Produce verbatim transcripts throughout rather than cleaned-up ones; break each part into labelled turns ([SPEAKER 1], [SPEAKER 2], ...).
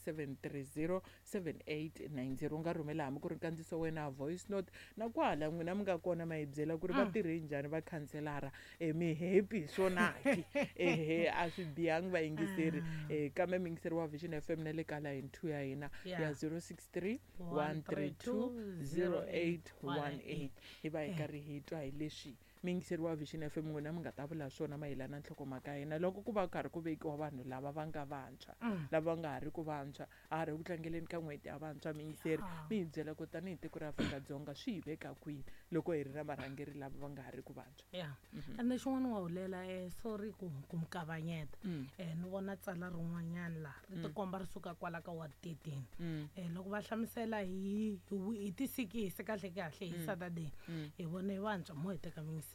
[SPEAKER 1] seven three zero seven eight nine zero. U nga rhumela hambi ku ri nkandziso wena voice note na kwala n'wina mi nga kona ma hi byela ku ri va tirhe njhani va khanselara, e mi happy swona ki? Ehe, a swi bihangi vayingiseri. um kambe muyingiseri wa Vision F M na le ka line two ya hina ya zero six three one three two zero eight one eight hi va hi karhi hi twa hi leswi muyingiseri wa Vision F M n'wina mi nga ta vula swona mayelana na nhlokomhaka ya hina loko ku va karhi ku vekiwa vanhu lava va nga vantshwa, lava nga ha ri ku vantshwa, a ha ri ku tlangeleni ka n'hweti ya vantshwa. Muyingiseri mi hi byela ku tanihi tiko ra Afrika-Dzonga swi hi veka kwini loko hi ri na varhangeri lava va nga ha ri ku vantshwa?
[SPEAKER 2] Ya, ende xin'wana wa hulela, um sorry ku ku mi kavanyeta, um ni vona tsala rin'wanyana laha ri tikomba ri suka kwala ka ward thirteen, um loko va hlamusela hi hi tisikisi kahle kahle hi Saturday hi vone vantshwa mo hi teka muyingiseri.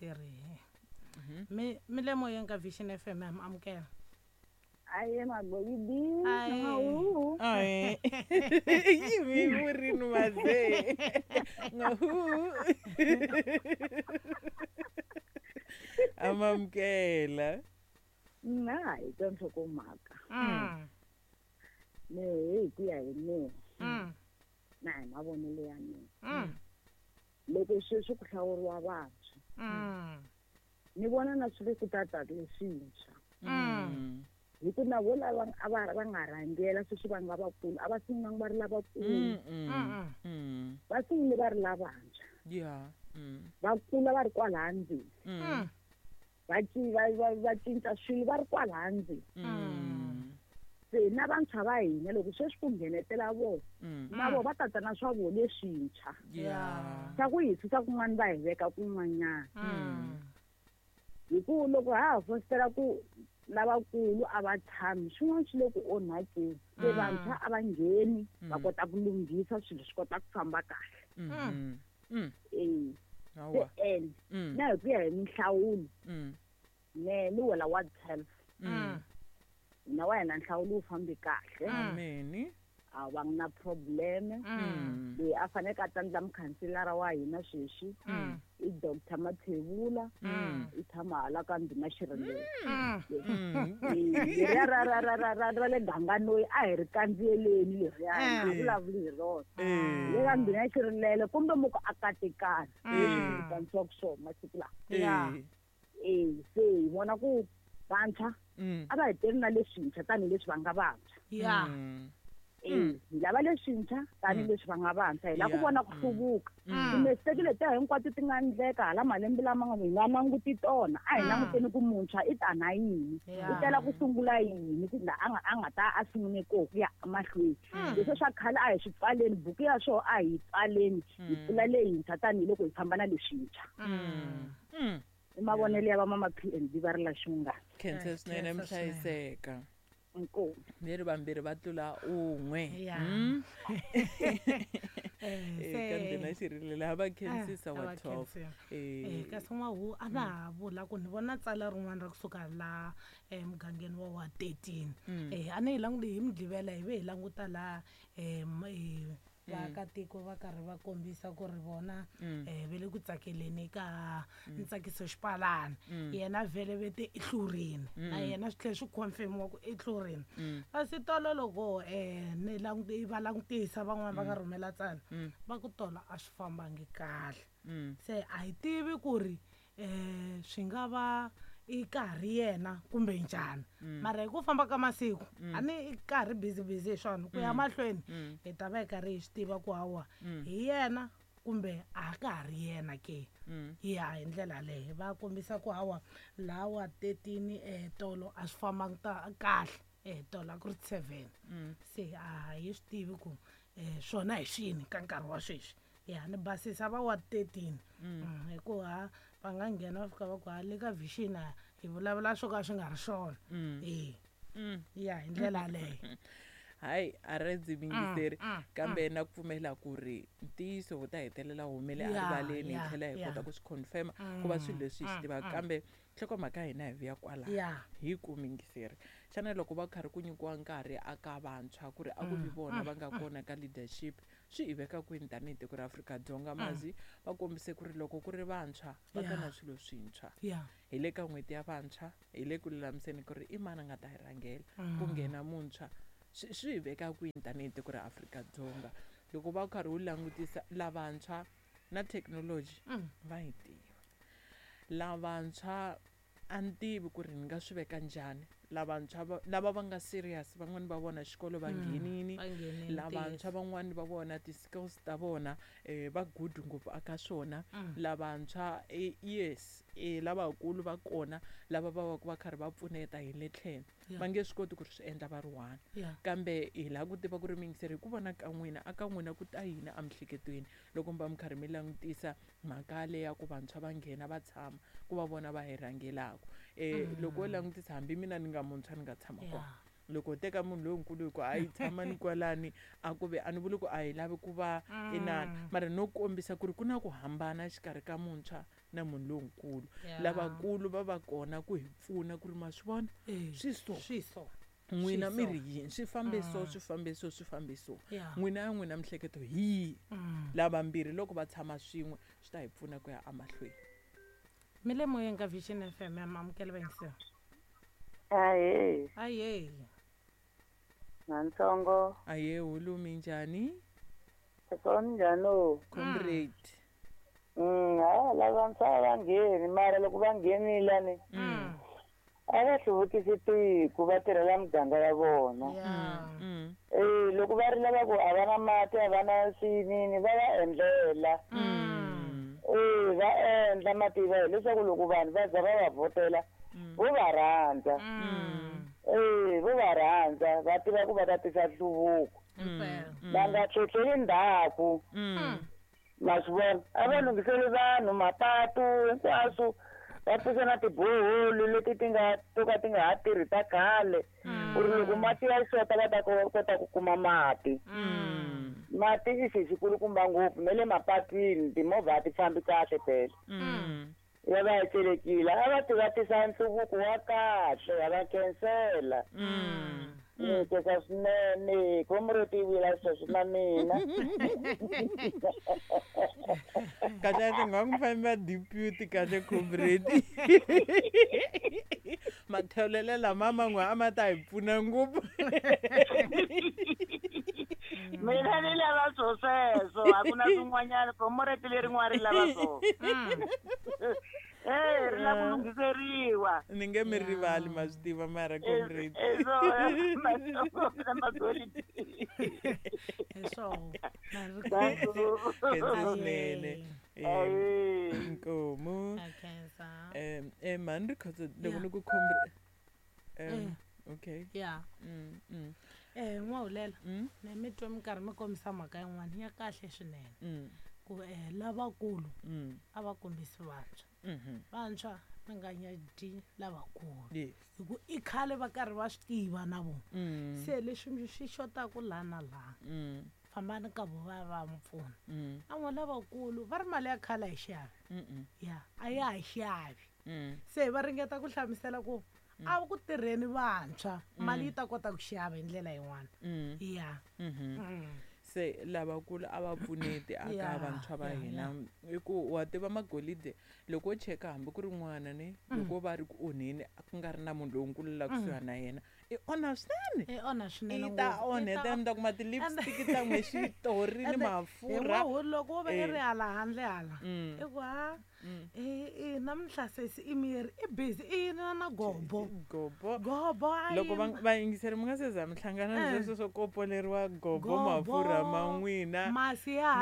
[SPEAKER 2] Mi mi le moyeni ka Vision F M, ha mi amukela.
[SPEAKER 3] Aye magoyidi.
[SPEAKER 1] Aye. Yimi vurini maze. Ngahu. Amamkela.
[SPEAKER 3] Na hi ka nhlokomhaka. Ne hi ku ya hi mina. Na hi mavonelo ya mina. Loko sweswi ku hlawuriwa vantshwa, ni vona na swi le ku tata leswintshwa. Hi ku na vo lava a va va nga rhangela sweswi va nga vakulu a va sungulanga va ri lavakulu, va sungule va ri lavantshwa, va kula va ri kwalaha ndzeni, va va va cinca swilo va ri kwalaha ndzeni. Se na vantshwa va hina loko sweswi ku nghenetela vona, na vona va tata na swa vona leswintshwa swa ku hi susa kun'wana va hi veka kun'wanyana. Hi ku loko ha ha fositela ku lavakulu a va tshami, swin'wana swi le ku onhakeni, se vantshwa a va ngheni va kota ku lunghisa swilo swi kota ku famba kahle. E se en na hi ku ya hi minhlawulo, ne ni wela ward twelve, na wa hina nhlawulo wu fambi kahle, a va na problem. Loyi a faneleke a tandla mukhanselara wa hina sweswi i Doctor Mathebula, i tshama hala ka Ndhuna Xirindela. Leriya ra ra ra ra ra ra le Ganganoyi a hi ri kandziyeleni leriya, a vulavuli hi rona. Le ka Ndhuna Xirindela kumbe muku a katekana leswi ku vitaniwaka swona masiku lawa. E se hi vona ku vantshwa a va hi teri na leswintshwa tanihileswi va nga vantshwa. E hi lava leswintshwa tanihileswi va nga vantshwa, hi lava ku vona ku hluvuka. Timistake letiya hinkwato ti nga endleka hala malembe lama nga hi nga languti tona, a hi languteni ku muntshwa i ta na yini, i tela ku sungula yini, ku la a nga a nga ta a sungule koho ku ya emahlweni. Leswi swa khale a hi swi pfaleni, buku ya swona a hi yi pfaleni, hi pfula leyintshwa tanihiloko hi famba na leswintshwa. I mavonelo ya va mama P and B va ri la xungana.
[SPEAKER 1] Khensa swinene, mi hlayiseka.
[SPEAKER 3] Inkomu.
[SPEAKER 1] Leri vambirhi va tlula un'we. Ka Ndhuna Xirilo va khensisa wa twelve.
[SPEAKER 2] Eh kasi n'wahu a na ha vula ku ni vona tsala rin'wana ra kusuka la emugangeni wa wa thirteen. Eh a ni hi languti hi Mugqivela hi ve hi languta la eh vaakatiko va karhi va kombisa ku ri vona um ve le ku tsakeleni ka ntsakiso xipalana, yena vhele ve te i hlurini, na yena swi tlhela swi confirmiwa ku i hlurini. Kasi tolo loko um ni languti va langutisa van'wani va nga rhumela tsala va ku tolo a swi fambangi kahle, se a hi tivi ku ri um swi nga va i karhi yena kumbe njhani, mara hi ku famba ka masiku a ni i karhi busy busy hi swona ku ya mahlweni hi ta va hi karhi hi swi tiva ku hawa hi yena kumbe a ka ha ri yena ke. Ya hi ndlela leyo va kombisa ku hawa lawa thirteen um tolo a swi fambangi ta kahle, um tolo a ku ri seven, se a hi swi tivi ku um swona hi swini ka nkarhi wa sweswi. Ya ni basisa va wa thirteen hikuva va nga nghena va fika va ku ha le ka Vision hi vulavula swo ka swi nga ri swona. E ya hi ndlela yaleyo.
[SPEAKER 1] Hayi a ri ndzi mingiseri, kambe na ku pfumela ku ri ntiyiso wu ta hetelela wu humele erivaleni, hi tlhela hi kota ku swi confirma ku va swilo leswi hi swi tivaka. Kambe nhlokomhaka ya hina hi vuya kwalaho hi ku mingiseri, xana loko va karhi ku nyikiwa nkarhi aka vantshwa ku ri a ku vi vona va nga kona ka leadership, swi hi veka kwini tanihi tiko ra Afrika-Dzonga? Mazi va kombise ku ri loko ku ri vantshwa va ta na swilo swintshwa. Hi le ka n'hweti ya vantshwa, hi le ku lulamiseni ku ri i mani a nga ta hi rhangela, ku nghena muntshwa swi swi hi veka kwini tanihi tiko ra Afrika-Dzonga loko va karhi wu langutisa lavantshwa na thekinoloji
[SPEAKER 2] Mm.
[SPEAKER 1] va yi tiva lavantshwa a ni tivi ku ri ni nga swi veka njhani lavantshwa va- lava va nga serious van'wani va vona xikolo va nghenini
[SPEAKER 2] Va nghenini,
[SPEAKER 1] lavantshwa van'wani va vona ti-skills ta vona um va good ngopfu aka swona
[SPEAKER 2] Mm.
[SPEAKER 1] lavantshwa eh, yes eh, lavakulu va kona lava va va ku va karhi va pfuneta hi le tlhelo
[SPEAKER 2] Yeah.
[SPEAKER 1] va nge swi koti ku ri swi endla va ri one
[SPEAKER 2] Yeah.
[SPEAKER 1] kambe hi lava ku tiva ku ri miyingiseri hi ku vona ka n'wina a ka n'wina ku ta yini emiehleketweni loko mi va mi karhi mi langutisa mhaka leya ku vantshwa va nghena va tshama ku va vona va hi rhangelaka um loko wo langutisa hambi mina ni nga muntshwa ni nga tshama kona
[SPEAKER 2] Yeah.
[SPEAKER 1] loko u teka munhu lonkulu hi ku a yi tshama ni kwalani a ku ve a ni vuli ku a hi lavi ku va inani mara no kombisa ku ri ku na ku hambana exikarhi ka muntshwa na munhu lonkulu
[SPEAKER 2] Yeah.
[SPEAKER 1] lavakulu va va kona ku hi pfuna ku ri ma swi vona
[SPEAKER 2] Eh,
[SPEAKER 1] swi so
[SPEAKER 2] swi so
[SPEAKER 1] n'wina
[SPEAKER 2] Swi
[SPEAKER 1] mi
[SPEAKER 2] so.
[SPEAKER 1] ri yini swi fambe so swi fambe so swi fambe so
[SPEAKER 2] Yeah.
[SPEAKER 1] n'wina ya n'wina mihleketo hi yihi
[SPEAKER 2] Mm.
[SPEAKER 1] lavambirhi loko va tshama swin'we swi ta hi pfuna ku ya emahlweni
[SPEAKER 2] mi le moyeni ka Vision F M ya maamukela vayingiseri
[SPEAKER 4] Ahee,
[SPEAKER 2] aye
[SPEAKER 4] nantsongo.
[SPEAKER 1] aye hulumi njhani
[SPEAKER 4] Kunjhani?
[SPEAKER 1] comrade
[SPEAKER 4] Mm, hayi lavantshwa a va ngheni mara loko va nghenile ni
[SPEAKER 2] Mm.
[SPEAKER 4] a va hluvukisi tiko va tirhela muganga ya vona.
[SPEAKER 2] Yeah.
[SPEAKER 1] Mm.
[SPEAKER 4] Eh, loko va ri lava ku a va na mati a va na swinini va va endlela.
[SPEAKER 1] Mm.
[SPEAKER 4] Eh, va endla mativa hileswaku loko vanhu va za va va vhotela vo va rhandza.
[SPEAKER 2] Mm.
[SPEAKER 4] Eh, vo va rhandza va tiva ku va ta tisa nhluvuko.
[SPEAKER 2] Impela.
[SPEAKER 4] Va nga tlhetlheli ndzhaku.
[SPEAKER 1] Mm.
[SPEAKER 4] Ma swi vona a va lunghiseli vanhu mapatu hinkwaswo va pfuxa na tiboholi leti ti nga to ka ti nga ha tirhi ta khale ku ri loko mati ya xota va ta ko- kota ku kuma mati
[SPEAKER 1] Mm.
[SPEAKER 4] mati i xi xikulukumba ngopfu na le mapatwini timovha a ti fambi kahle phela
[SPEAKER 1] Mm.
[SPEAKER 4] ya va ya celekile a va ti va tisa nhluvuko wa kahle ya va khensela
[SPEAKER 1] Mm.
[SPEAKER 4] ni khensa swinene comrade yi vula sweswo na mina
[SPEAKER 1] kahle kahle nga ku fambi va deputy kahle comrade matholelo lama man'we a ma ta hi pfuna ngopfu
[SPEAKER 4] mina ni lava swo sweswo a ku na swin'wanyana comrade lerin'wana ri lava swona Eh, ri lava ku lunghiseriwa
[SPEAKER 1] ni nge mi rivali ma swi tiva mara comrade
[SPEAKER 4] Eh, na magolidi
[SPEAKER 2] Hi swona. Na ri
[SPEAKER 1] khensa swinene Eh,
[SPEAKER 4] Aye.
[SPEAKER 1] inkomu
[SPEAKER 2] A khensa.
[SPEAKER 1] um eh mhani ri khotso loko
[SPEAKER 2] Yeah.
[SPEAKER 1] ni ku comrade um
[SPEAKER 2] Eh.
[SPEAKER 1] okay
[SPEAKER 2] Yeah.
[SPEAKER 1] Mm, mm,
[SPEAKER 2] Eh, n'wahulela
[SPEAKER 1] mm,
[SPEAKER 2] ne mi twe mi karhi mi kombisa mhaka yin'wana ya kahle swinene
[SPEAKER 1] mm,
[SPEAKER 2] ku eh lavakulu
[SPEAKER 1] mm,
[SPEAKER 2] a va kombisi vantshwa
[SPEAKER 1] mhm.
[SPEAKER 2] vantshwa mi nga nyadyi lavakulu
[SPEAKER 1] yes
[SPEAKER 2] hi ku i khale va karhi va swi tiva na vona
[SPEAKER 1] Mm,
[SPEAKER 2] se leswi swi xotaku laha na laha
[SPEAKER 1] mm,
[SPEAKER 2] fambani ka vo va va mi pfuna
[SPEAKER 1] mm,
[SPEAKER 2] na n'we lavakulu va ri mali ya khale a yi xavi
[SPEAKER 1] mm, mm,
[SPEAKER 2] ya a ya ha xavi
[SPEAKER 1] mm.
[SPEAKER 2] se va ringeta ku hlamusela ku a ku tirheni vantshwa mali yi ta kota ku xava hi ndlela yin'wana
[SPEAKER 1] Mm,
[SPEAKER 2] ya
[SPEAKER 1] mhm.
[SPEAKER 2] Mm.
[SPEAKER 1] Se lavakulu a va pfuneti aka
[SPEAKER 2] Yeah,
[SPEAKER 1] vantshwa va
[SPEAKER 2] yeah,
[SPEAKER 1] hina i ku wa tiva magolide loko wo cheka hambi ku ri n'wana ne loko va ri ku onheni a ku nga ri na munhu lonkulu la kusuhani na yena i onha swinene
[SPEAKER 2] i onha swinene
[SPEAKER 1] i ta
[SPEAKER 2] ngopfu. I
[SPEAKER 1] onheta
[SPEAKER 2] ta
[SPEAKER 1] mi ta kuma ti-lipstick ta n'we xitori ni
[SPEAKER 2] Ende
[SPEAKER 1] mafurha
[SPEAKER 2] hi n'wahu loko wo va i
[SPEAKER 1] Eh.
[SPEAKER 2] ri hala handle hala
[SPEAKER 1] Mm.
[SPEAKER 2] i ku ha
[SPEAKER 1] Mm.
[SPEAKER 2] i- i namuntlha sesi i miri i busy i yini na gobo
[SPEAKER 1] gobo
[SPEAKER 2] gobo a
[SPEAKER 1] loko va
[SPEAKER 2] yini.
[SPEAKER 1] vayingiseri mi nga se za mi hlangana
[SPEAKER 2] Eh.
[SPEAKER 1] na sweswo swo kopoleriwa gobo
[SPEAKER 2] Gobo,
[SPEAKER 1] mafurha ma n'wina
[SPEAKER 2] masi ya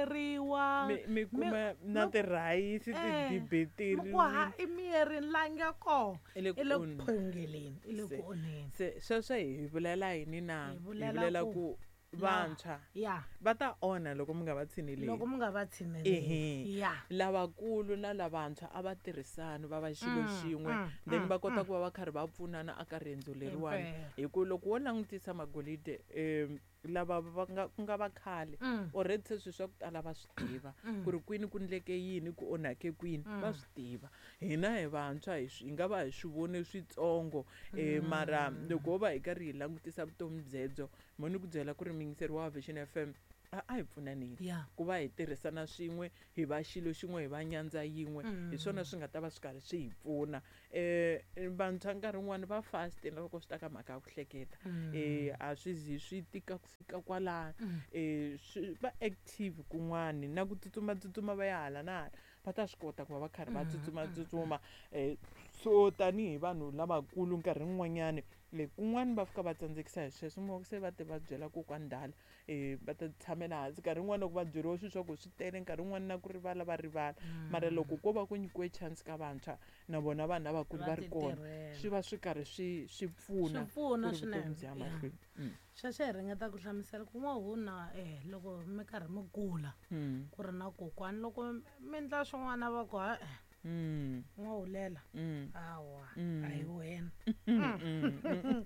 [SPEAKER 2] halateriwa
[SPEAKER 1] mi mi kuma na
[SPEAKER 2] mi-
[SPEAKER 1] tirhayisi
[SPEAKER 2] Eh,
[SPEAKER 1] ti
[SPEAKER 2] mi ku ha i mirini la nga kona
[SPEAKER 1] I le ku
[SPEAKER 2] i le ku
[SPEAKER 1] onheni.
[SPEAKER 2] phongeleni i le
[SPEAKER 1] Se-
[SPEAKER 2] ku onheni
[SPEAKER 1] se sweswo hi vulela yini na
[SPEAKER 2] Hi
[SPEAKER 1] hi
[SPEAKER 2] vulela
[SPEAKER 1] vulela
[SPEAKER 2] ku
[SPEAKER 1] ku vantshwa
[SPEAKER 2] ya
[SPEAKER 1] va ta onha loko mi nga va tshineleli
[SPEAKER 2] loko mi nga va
[SPEAKER 1] Ehe.
[SPEAKER 2] tshineleli ya
[SPEAKER 1] lavakulu na lavantshwa a va tirhisani va va xilo
[SPEAKER 2] Mm,
[SPEAKER 1] xin'we
[SPEAKER 2] mm,
[SPEAKER 1] then
[SPEAKER 2] mm,
[SPEAKER 1] va kota ku va va karhi va pfunana aka riendzo leriwani
[SPEAKER 2] Impela.
[SPEAKER 1] hi ku loko wo langutisa magolide um lava va nga ku nga va khale
[SPEAKER 2] Mm.
[SPEAKER 1] already se swilo swa ku tala va swi tiva ku ri kwini ku ndleke yini ku onhake kwini va swi tiva hina hi vantshwa hi swi hi nga va hi swi vone switsongo um mara loko ho va hi karhi hi langutisa vutomi byebyo Mo ni ku byela ku ri muyingiseri wa Vision F M a a hi pfunaneni
[SPEAKER 2] Yeah.
[SPEAKER 1] ku va hi tirhisana swin'we, hi va xilo xin'we, hi va nyandza yin'we, hi swona swi nga ta va swi karhi swi hi pfuna. Eh vantshwa nkarhi wun'wani va fast na loko swi ta ka mhaka ya ku hleketa. Eh a swi zi swi tika ku fika kwalano. Eh swi va active kun'wani na ku tsutsuma tsutsuma va ya hala na hala, va ta swi kota ku va va karhi va tsutsuma tsutsuma. Eh so tanihi vanhu lavakulu nkarhi wun'wanyani le kun'wani va fika va tsandzekisa hi sweswo, mi se va ti va byela kokwani ndala, eh va ta tshamela hansi. Nkarhi wun'wani loko va byeriwa swilo swa ku swi tele, nkarhi wun'wani na ku rivala va rivala. Mara loko ko va ku nyikiwe chance ka vantshwa na vona vanhu lavakulu va ri kona, swi va swi karhi swi swi pfuna
[SPEAKER 2] Swi pfuna
[SPEAKER 1] ku ri vutomi
[SPEAKER 2] swinene.
[SPEAKER 1] byi ya
[SPEAKER 2] Yeah.
[SPEAKER 1] mahlweni. Mm.
[SPEAKER 2] Sweswo hi ringeta ku hlamusela ku n'wahuna eh loko mi karhi mi kula
[SPEAKER 1] Mm.
[SPEAKER 2] ku ri na kokwani, loko mi endla swin'wana va ku ha
[SPEAKER 1] Mm.
[SPEAKER 2] n'wahulela
[SPEAKER 1] Mm.
[SPEAKER 2] hawa
[SPEAKER 1] Mm.
[SPEAKER 2] a hi wena.
[SPEAKER 1] Mm, mm,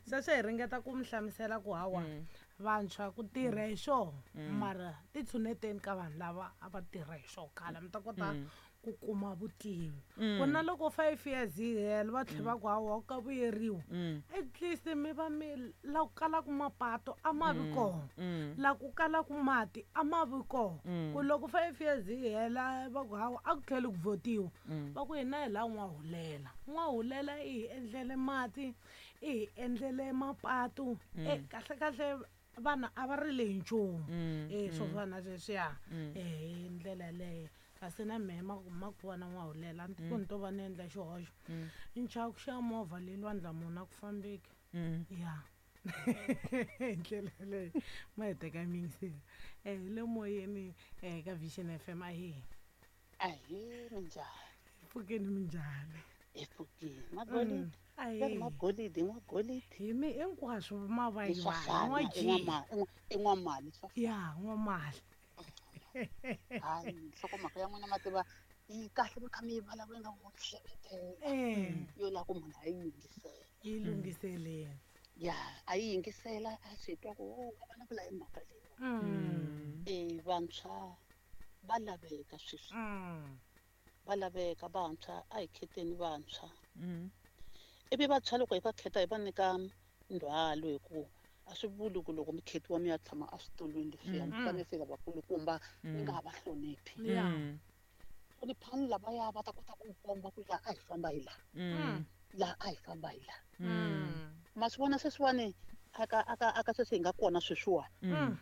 [SPEAKER 2] Sweswo hi ringeta ku mi hlamusela ku hawa
[SPEAKER 1] Mm.
[SPEAKER 2] vantshwa ku tirha hi swona, mara ti tshuneteni ka vanhu lava a va tirha hi swona khale, mi ta kota
[SPEAKER 1] Mm.
[SPEAKER 2] ku kuma vutivi.
[SPEAKER 1] Mm.
[SPEAKER 2] Ku na loko five years yi hela va tlhela va ku hawa ka vuyeriwa,
[SPEAKER 1] Mm.
[SPEAKER 2] at least mi va mi la ku kalaka mapato a ma vi kona,
[SPEAKER 1] Mm.
[SPEAKER 2] la ku kalaka mati a ma vi kona.
[SPEAKER 1] Mm.
[SPEAKER 2] Ku loko five years yi hela va ku hawa a ku tlheli ku votiwa,
[SPEAKER 1] Mm.
[SPEAKER 2] va ku hina hi la n'wahulela. N'wahulela i hi endlele mati, i hi endlele mapato. Eh kahle kahle vanhu a va rile hi nchumu.
[SPEAKER 1] Mm.
[SPEAKER 2] Eh swo fana na sweswiya.
[SPEAKER 1] Mm.
[SPEAKER 2] Eh hi ndlela yaleyo. Kasi na mehe ma ma ku vona n'wahulela a ni ku ni to va ni endla xihoxo.
[SPEAKER 1] Mm.
[SPEAKER 2] Ni chava ku xava movha le lwandle munhu a ku fambeki.
[SPEAKER 1] Mm.
[SPEAKER 2] Ya. Hi ndlela yaleyo ma hi teka miyingiseri. Eh le moyeni eh ka Vision F M a hi.
[SPEAKER 5] Ahee, minjhani?
[SPEAKER 2] Pfukeni minjhani?
[SPEAKER 5] Hi pfukile. Magolidi.
[SPEAKER 2] Ahee.
[SPEAKER 5] Va ri magolidi, n'wagolidi.
[SPEAKER 2] Hi mi hinkwaswo ma va
[SPEAKER 5] I swa
[SPEAKER 2] yiwa,
[SPEAKER 5] fana, i
[SPEAKER 2] n'wa-G.
[SPEAKER 5] n'wama- i n'wa- i n'wamali swa fana.
[SPEAKER 2] Ya, n'wamali.
[SPEAKER 5] Hayi, nhlokomhaka ya n'wina ma tiva yi kahle mi kha mi yi vulavula nga ku hlevetela.
[SPEAKER 2] Eh.
[SPEAKER 5] Yo lava ku munhu a yi yingisela.
[SPEAKER 2] Yi lunghiseleni.
[SPEAKER 5] Ya, a yi yingisela a swi twa ku oh, va vulavula hi mhaka leyi.
[SPEAKER 2] Mm.
[SPEAKER 5] Eh vantshwa va laveka sweswi.
[SPEAKER 2] Mm.
[SPEAKER 5] Va laveka vantshwa, a hi kheteni vantshwa.
[SPEAKER 1] Mm.
[SPEAKER 5] Ivi vantshwa loko hi va kheta hi va nyika ndzhwalo hi ku a swi vuli ku loko mi khetiwa mi ya tshama eswitulwini leswiya, mi fanele se lavakulukumba mi nga ha va hloniphi.
[SPEAKER 2] Ya.
[SPEAKER 1] Mm.
[SPEAKER 5] Hloniphani lavaya va ta kota ku komba ku laha a hi famba hi laha,
[SPEAKER 1] Mm.
[SPEAKER 5] laha a hi famba hi laha.
[SPEAKER 1] Mm.
[SPEAKER 5] Ma swi vona sweswiwani aka aka aka sweswi hi nga kona sweswiwani.
[SPEAKER 1] Mm.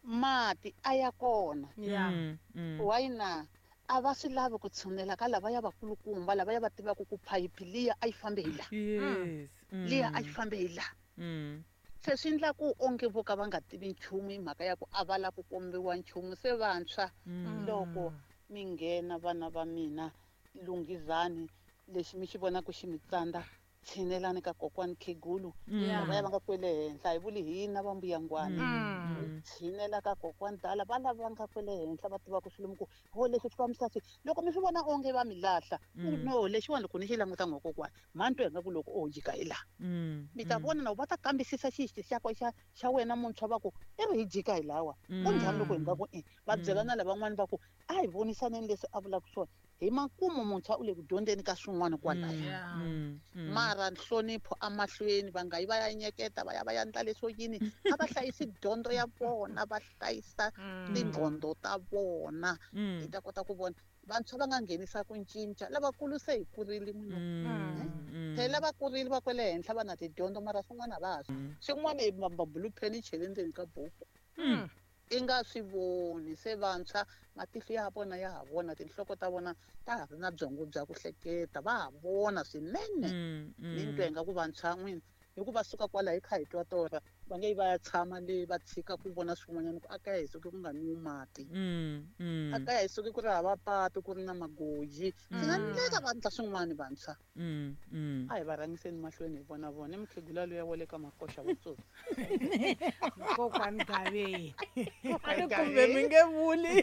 [SPEAKER 5] Mati a ya kona.
[SPEAKER 2] Ya.
[SPEAKER 1] Mm. Mm.
[SPEAKER 5] Why na? A va swi lavi ku tshunela ka lavaya vakulukumba, lavaya va tivaka ku phayiphi liya a yi fambe hi laha.
[SPEAKER 1] Yes. Mm.
[SPEAKER 5] Liya a yi fambe hi laha.
[SPEAKER 1] Mm.
[SPEAKER 5] Se swi endla ku onge vo ka va nga tivi nchumu hi mhaka ya ku a va lava ku kombiwa nchumu. Se vantshwa
[SPEAKER 1] Mm.
[SPEAKER 5] loko mi nghena vana va mina, lunghizani lexi mi xi vonaka xi mi tsandza, tshinelani ka kokwani Khegulu.
[SPEAKER 2] Ya.
[SPEAKER 5] Lavaya va nga kwele henhla, hi vuli hina va mbuyangwana.
[SPEAKER 2] Mm.
[SPEAKER 5] Tshinela ka kokwani dala, va lava va nga kwele henhla va tivaka swilo mi ku ho leswi swi fambisa swi. Loko mi swi vona onge va mi lahla,
[SPEAKER 1] Mm.
[SPEAKER 5] no lexiwani loko ni xi languta n'wa kokwani, mhani twa ingaku loko o jika hi laha.
[SPEAKER 1] Mm.
[SPEAKER 5] Mi ta vona na va ta kambisisa xixi xa xa xa wena muntshwa va ku i ri hi jika hi lawa. Ku njhani loko hi nga ku e va byela na lavan'wana va ku a hi vonisaneni leswi a vulaka swona. Hi makumu muntshwa u le ku dyondzeni ka swin'wana kwalaya.
[SPEAKER 2] Ya.
[SPEAKER 1] Mm. Mm.
[SPEAKER 5] Mara nhlonipho emahlweni, va nga yi va ya nyeketa va ya va ya endla leswo yini, a va hlayisi dyondzo ya vona, va hlayisa tinqondo ta vona.
[SPEAKER 1] Mm.
[SPEAKER 5] Hi ta kota ku vona vantshwa va nga nghenisa ku cinca, lavakulu se hi kurile munhu.
[SPEAKER 1] Mm. Mm.
[SPEAKER 5] Phela va kurile va kwele henhla va na tidyondzo, mara swin'wana a va ha swi. Swin'wana i mabulu pheni chele ndzeni ka buku.
[SPEAKER 1] Mm.
[SPEAKER 5] I nga swi voni. Se vantshwa matihlo ya vona ya ha vona, tinhloko ta vona ta ha ri na byongo bya ku hleketa, va ha vona swinene.
[SPEAKER 1] Mm.
[SPEAKER 5] Ni twa ingaku vantshwa n'wina hi ku va suka kwala hi kha hi twa torha, va nge yi va ya tshama le va tshika ku vona swin'wanyana ku a kaya hi suki ku nga nwiwi mati.
[SPEAKER 1] Mm. Mm.
[SPEAKER 5] A kaya hi suki ku ri hava patu, ku ri na magoji. Swi nga endleka va endla swin'wana vantshwa.
[SPEAKER 1] Mm. Mm.
[SPEAKER 5] A hi va rhangiseni mahlweni hi vona vona. I mukhegula luya wa le ka Makoxa wa Tsotsi.
[SPEAKER 2] Kokwani Gaveni.
[SPEAKER 1] A ni kumbe mi nge vuli.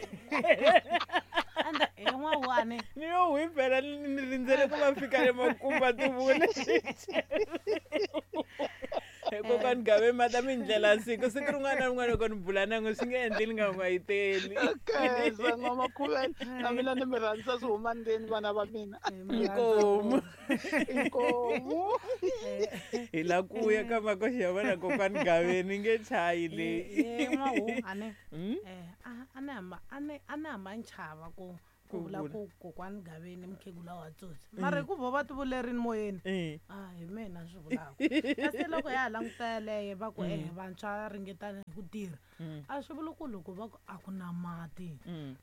[SPEAKER 2] Anda hi n'wawani.
[SPEAKER 1] Ni yo hwi phela ni ni rindzele ku va fika le makumu va ti vula. Kokwani Gabe mata mi ndlela siku siku rin'wana na rin'wana loko ni bula na n'we swi nge endli ni nga n'wayiteli.
[SPEAKER 5] Khensa N'wamakhuwele na mina ni mi rhandza swi huma ndzeni vana va mina.
[SPEAKER 1] Inkomu.
[SPEAKER 5] Inkomu.
[SPEAKER 1] Hi la ku ya ka makoxi ya vona kokwani Gabe ni nge chayi leyi.
[SPEAKER 2] Eh n'wahu ane eh a ni hamba a ni a ni hamba ni chava ku ku vula ku kokwani Gaveni mukhegula wa tsotsi mara hi ku vo va ti vulerini moyeni a hi mina swi vulaka kasi loko ya ha languta yaleyo va ku eh vantshwa ringetani hi ku tirha a swi vuli ku loko va ku a ku na mati um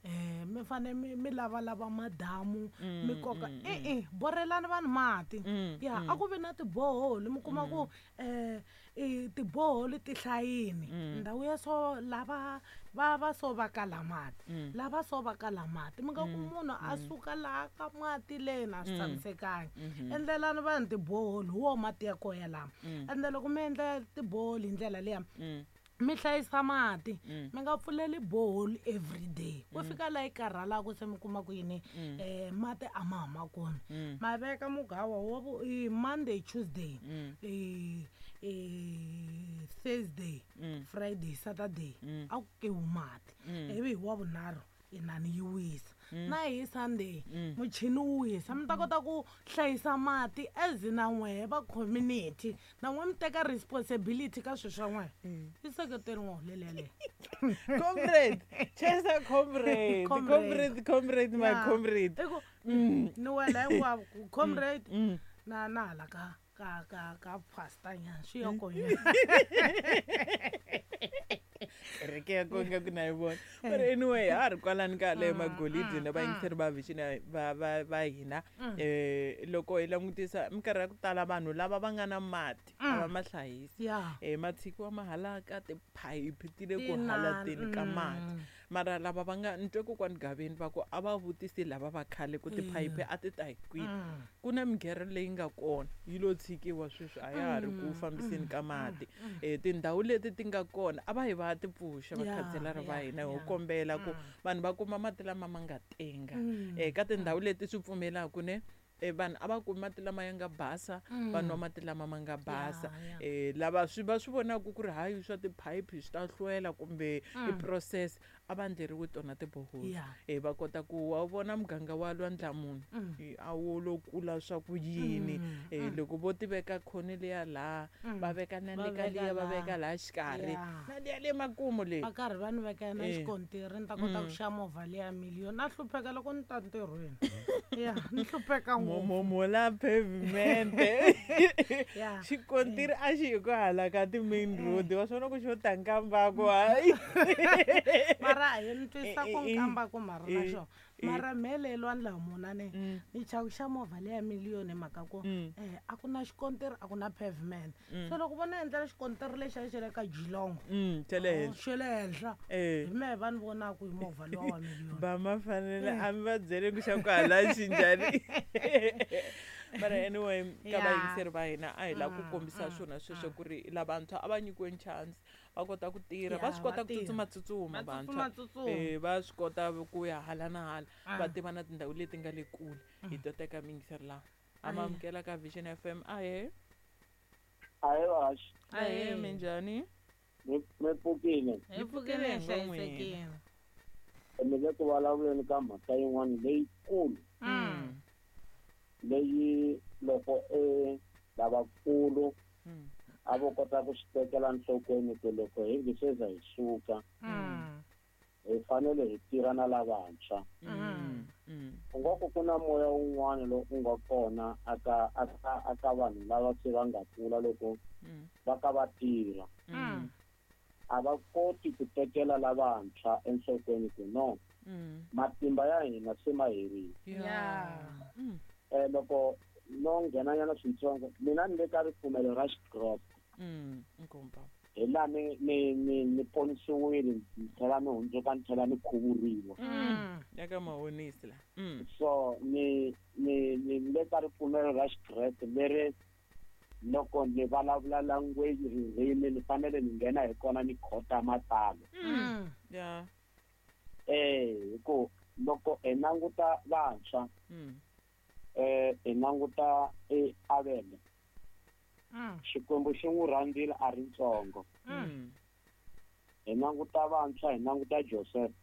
[SPEAKER 2] mi fane mi mi lavalava madamu mi koka e-e borelani vanhu mati ya a ku vi na tiboholi mi kuma ku um tiboholi ti hlayini ndhawu ya so lava va va so va kala mati lava so va kala mati mi nga ku munhu a suka laha ka mati leni a swi tshamisekangi endlelani vanhu tiboholi hi wo mati ya koho yalama ende loko mi endla tiboholi hi ndlela liya mi hlayisa mati mi nga pfuleli boholi everyday ku fika laha yi karhalaka se mi kuma ku yini um mati a ma huma kona ma veka mugawa wa vu i Monday Tuesday i Thursday Friday Saturday a ku kewi mati ivi hi wa vunharhu inani yi wisa na hi Sunday muchini wu wisa mi ta kota ku hlayisa mati as na n'wehe va community na n'we mi teka responsibility ka swilo swa n'wehe i seketeri n'wahu yaleyo.
[SPEAKER 1] Comrade chesa comrade comrade comrade my comrade
[SPEAKER 2] i ku ni wela hinkwavo ku comrade na na hala ka ka ka ka pastor nyana swi ya kona.
[SPEAKER 1] Kereke ya kona ku na yi vona but anyway ha ri kwalani ka leyo magolidi na vayingiseri va vision va va va hina eh loko hi langutisa minkarhi ya ku tala vanhu lava va nga na mati a va ma hlayisi eh ma tshikiwa mahala ka tiphayiphi ti le ku halateni ka mati mara lava va nga ni twe kokwani Gaveni va ku a va vutisi lava va khale ku tiphayiphi a ti ta hi kwini ku na mighero leyi nga kona yi lo tshikiwa sweswi a ya ha ri ku fambiseni ka mati eh tindhawu leti ti nga kona a va hi va ti pfuxa vakhanselara va hina ho kombela ku vanhu va kuma mati lama ma nga tenga eh ka tindhawu leti swi pfumelaka ne eh vanhu a va kumi mati lama ya nga basa va nwa mati lama ma nga basa eh lava swi va swi vonaka ku ri hayi swa tiphayiphi swi ta hlwela kumbe i process a va endleriwi tona tiboholi eh va kota ku wa vona muganga wa Lwandlamunhu a wu lo kula swa ku yini eh loko vo ti veka khoni liya laha va veka na le ka liya va veka laha xikarhi na liya le makumu leyi
[SPEAKER 2] va karhi va ni veka na xikontiri ni ta kota ku xava movha liya miliyoni na hlupheka loko ni ta ntirhweni ya ni hlupheka ngopfu
[SPEAKER 1] mola pavement xikontiri a xi hi ku hala ka ti-main road wa swona ku xo ta nkambako hayi
[SPEAKER 2] mara a ni twisa ku nkambako mara na xona mara mhele Lwandlamuna ne ni chava ku xa movha leya miliyoni hi mhaka ku eh a ku na xikontiri a ku na pavement se loko vona endlela xikontiri lexiya xa le ka Geelong
[SPEAKER 1] xa le henhla
[SPEAKER 2] xa le henhla hi mehe va ni vonaka hi movha luwa wa miliyoni
[SPEAKER 1] va ma fanele a mi va byele ku xa ku hala xi njhani mara anyway ka vayingiseri va hina a hi lava ku kombisa swona sweswo ku ri lavantshwa a va nyikiweni chance va kota ku tirha va swi kota ku tsutsuma vantshwa eh va swi kota ku ya hala na hala va tiva na tindhawu leti nga le kule hi to teka miyingiseri laha a ma amukela ka Vision F M ahe
[SPEAKER 4] ahe vaxi
[SPEAKER 1] ahe minjhani
[SPEAKER 4] mi pfukile
[SPEAKER 2] hi pfukile hi hlayisekile
[SPEAKER 4] mi le ku vulavuleni ka mhaka yin'wana leyikulu leyi loko e lavakulu a vo kota ku swi tekela nhlokweni ku loko hi nge se za hi suka hi fanele hi tirha na lavantshwa u nga ku ku na moya wun'wana lowu u nga kona aka aka aka vanhu lava se va nga kula loko va ka va tirha a va koti ku tekela lavantshwa enhlokweni ku no matimba ya hina se ma herile eh loko no nghenanyana swintsongo mina ni le ka ripfumelo ra xikreste hi laha ni ni ni ni ponisiwile ni tlhela ni hundzuka ni tlhela ni khuvuriwa
[SPEAKER 1] ya ka mahonisi la
[SPEAKER 4] so ni ni ni le ka ripfumelo ra xikreste leri loko ni vulavula language ririmi ni fanele ni nghena hi kona ni khota matalo
[SPEAKER 1] ya
[SPEAKER 4] eh hi ku loko hi languta vantshwa eh hi languta e Avele
[SPEAKER 6] Xikwembu xi n'wi rhandzile a ri ntsongo. Hi languta vantshwa, hi languta Joseph.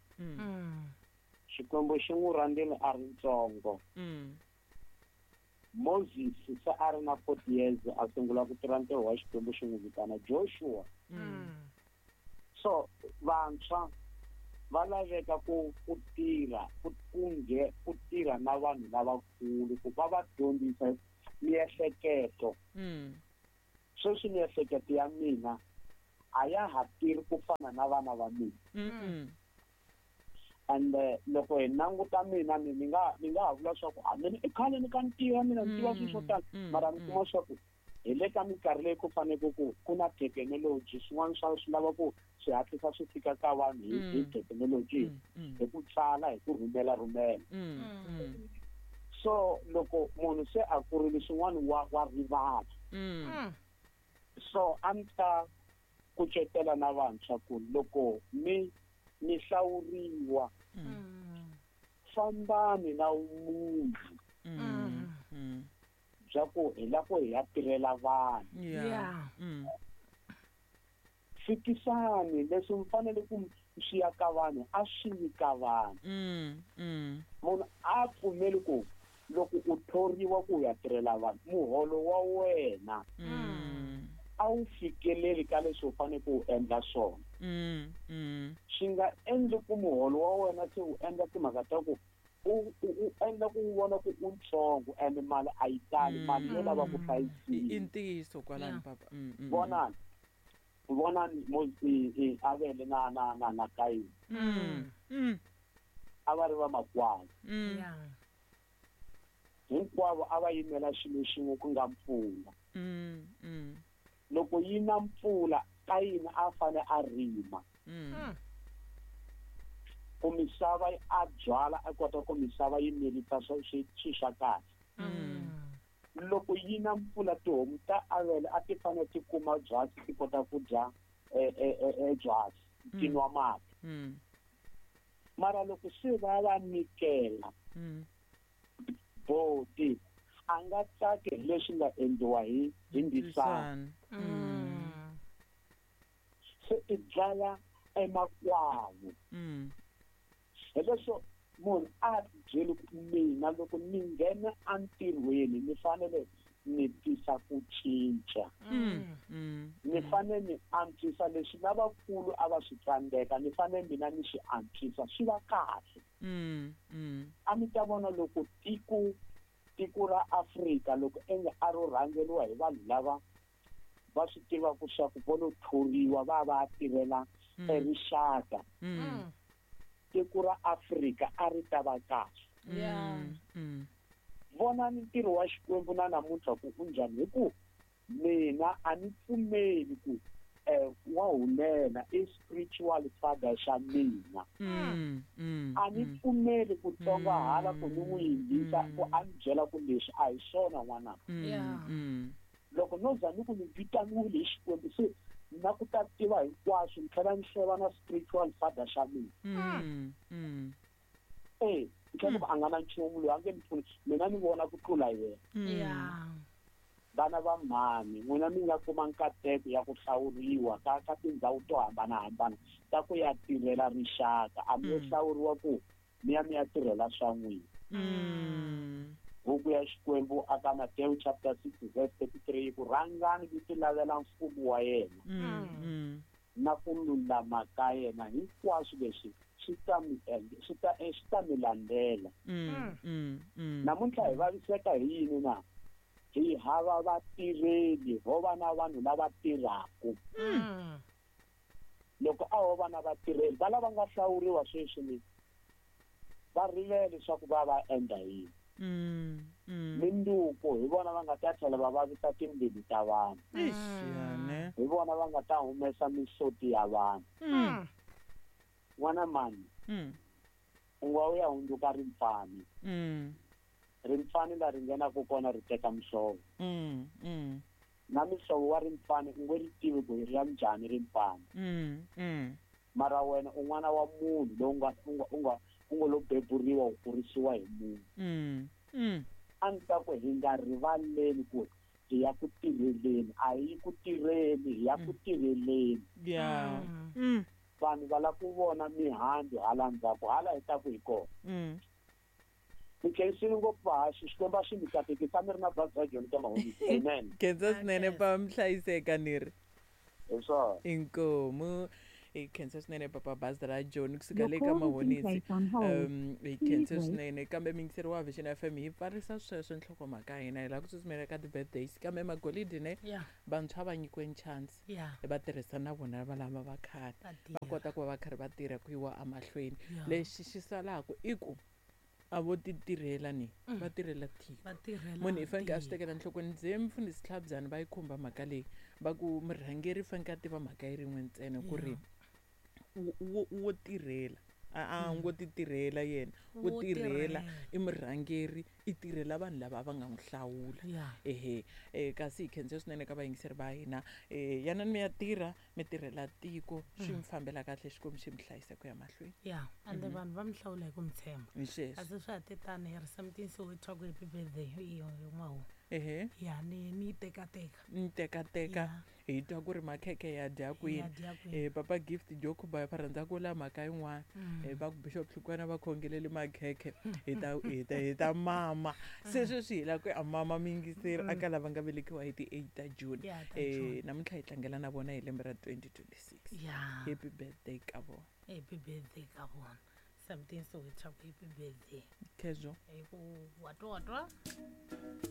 [SPEAKER 6] Xikwembu xi n'wi rhandzile a ri ntsongo. Moses se a ri na forty years a sungula ku tirha ntirho wa Xikwembu xi n'wi vitana Joshua. So vantshwa va laveka ku ku tirha ku kunge ku tirha na vanhu lavakulu ku va va dyondzisa miehleketo. Sweswi miehleketo ya mina a ya ha tirhi ku fana na vana va mina. And loko hi languta mina ni nga ni nga ha vula swa ku a mina i khale ni ka ni tiva mina ni tiva swilo swo tala, mara ni kuma swa ku hi le ka minkarhi leyi ku fanele ku ku na thekinoloji, swin'wana swa swi lava ku swi hatlisa swi fika ka vanhu hi hi thekinoloji, hi ku tsala, hi ku rhumela rhumela. So loko munhu se a kurile swin'wana wa wa rivala. So a ni ta kucetela na vantshwa ku loko mi mi hlawuriwa fambani na munhu bya ku hi la ku hi ya tirhela vanhu. Fikisani leswi mi fanele ku swi ya ka vanhu a swi yi ka vanhu. Munhu a pfumeli ku loko u thoriwa ku ya tirhela vanhu muholo wa wena a wu fikeleli ka leswi u fanele ku endla swona. Swi nga endli ku muholo wa wena se u endla timhaka ta ku u u endla ku vona ku u ntsongo and mali a yi tali, mali yo lava ku hlayisiwa.
[SPEAKER 1] I ntiyiso kwalano papa.
[SPEAKER 6] Vonani vonani Avele na na na na Kayini a va ri vamakwavo. Hinkwavo a va yimela xilo xin'we ku nga mpfula. Loko yi na mpfula Kayini a fane a rima ku misava a byala a kota ku misava yi mirisa swi swa kahle. Loko yi na mpfula tihomu ta Avele a ti fanele ti kuma byasi ti kota ku dya byasi ti nwa mati. Mara loko se va va nyikela boti a nga tsaki hi leswi nga endliwa hi hi ndisana. Se i dlaya emakwavo. Hi leswo munhu a byeli ku mina loko ni nghena entirhweni ni fanele ni tisa ku cinca. Ni fanele ni antswisa leswi lavakulu a va swi tsandzeka, ni fanele mina ni swi antswisa swi va kahle. A mi ta vona loko tiko tiko ra Afrika loko enge a ro rhangeriwa hi vanhu lava va swi tivaka swa ku vo lo thoriwa va va tirhela erixaka, tiko ra Afrika a ri ta va kahle. Vonani ntirho wa Xikwembu na namuntlha ku u njhani, hi ku mina a ni pfumeli ku wa hulela i spiritual father xa mina. A ni pfumeli ku tsongahala ku ni n'wi yingisa ku a ni byela ku leswi a hi swona n'wana. Loko no za ni ku ni vitaniwile hi Xikwembu se na ku ta tiva hinkwaswo ni tlhela ni hleva na spiritual father xa mina. Eh, ni tlhela ku a nga na nchumu loyi a nge ni pfuni mina ni vona ku tlula yena. Vana va mhani n'wina mi nga kuma nkateko ya ku hlawuriwa ka ka tindhawu to hambanahambana ta ku ya tirhela rixaka, a mi yo hlawuriwa ku mi ya mi ya tirhela swa n'wina. Buku ya Xikwembu aka Matthew chapter six verse thirty-three ku rhangani mi ti lavela mfumo wa yena na ku lulama ka yena, hinkwaswo leswi swi ta mi swi ta swi ta mi landzela. Namuntlha hi vaviseka hi yini na? Hi hava vatirheli, ho va na vanhu lava tirhaka. Loko a ho va na vatirheli va lava nga hlawuriwa sweswi ni va rivele leswaku va va endla yini. Minduku hi vona va nga ta tlhela va vavisa timbilu ta vanhu. Hi vona va nga ta humesa mihloti ya vanhu. N'wana mani u nga u ya hundzuka rimpfani. Rimpfani la ri nghenaka kona ri teka mihlovo. Na mihlovo wa rimpfani u nge ri tivi ku ri ya njhani rimpfani. Mara wena u n'wana wa munhu lowu nga u nga u nga u ngo lo beburiwa u kurisiwa hi munhu. A ni ta ku hi nga rivaleli ku Hi ya ku tirheleni, a hi ku tirheni, hi ya ku tirheleni.
[SPEAKER 1] Ya. Mm.
[SPEAKER 6] Vanhu va lava ku vona mihandzu hala ndzhaku, hala hi taku hi kona.
[SPEAKER 1] Mm.
[SPEAKER 6] Mi khensile ngopfu vahaxi, Xikwembu a xi mi katekisa, mi ri na bazi ra Joni ka Mahonisi. Amen.
[SPEAKER 1] Khensa swinene pa mihlayiseka ni ri.
[SPEAKER 6] Hi swona.
[SPEAKER 1] Inkomu. Hi khensa swinene papa bazi ra Joni kusuka le ka Mahonisi. Um hi khensa swinene kambe miyingiseri wa Vision F M hi pfarisa sweswo nhlokomhaka ya hina hi lava ku tsutsumela ka ti-birthdays kambe magolidi ne vantshwa va nyikiwe chance va tirhisa na vona va lava va khale va kota ku va va karhi va tirha ku yiwa emahlweni. Lexi xi salaka i ku a vo ti tirhela ni va tirhela tiko. Munhu i fanekele a swi tekela enhlokweni. Ndzi mfundhisi Tlhabyana va yi khumba mhaka leyi va ku murhangeri i fanekele a tiva mhaka yi rin'we ntsena ku ri wo tirhela a a ngo ti tirhela yena wo tirhela i murhangeri i tirhela vanhu lava va nga n'wi hlawula. Ehe kasi hi khensa swinene ka vayingiseri va hina. Yanani mi ya tirha mi tirhela tiko swi mi fambela kahle, Xikwembu xi mi hlayisa ku ya mahlweni.
[SPEAKER 2] Ya ande vanhu va mi hlawula hi ku mi tshemba. Kasi swa ha te tani hi ri seventeen so hi twa ku happy birthday hi n'wahu.
[SPEAKER 1] Ehe.
[SPEAKER 2] Ya ni ni tekateka.
[SPEAKER 1] Ni tekateka hi twa ku ri makhekhe ya dya kwini. Eh papa Gift Jokuba va rhandza ku la mhaka yin'wana. Eh va ku Bishop Hlukwana va khongelele makhekhe hi ta hi ta hi ta mama. Se sweswi hi la ku a mama miyingiseri aka lava nga velekiwa hi ti eight ta June. Eh namuntlha hi tlangela na vona hi lembe ra twenty twenty-six. Happy birthday ka vona.
[SPEAKER 2] Happy birthday ka vona. Something so it's happy birthday.
[SPEAKER 1] Kezo.
[SPEAKER 2] Hi ku watwa watwa.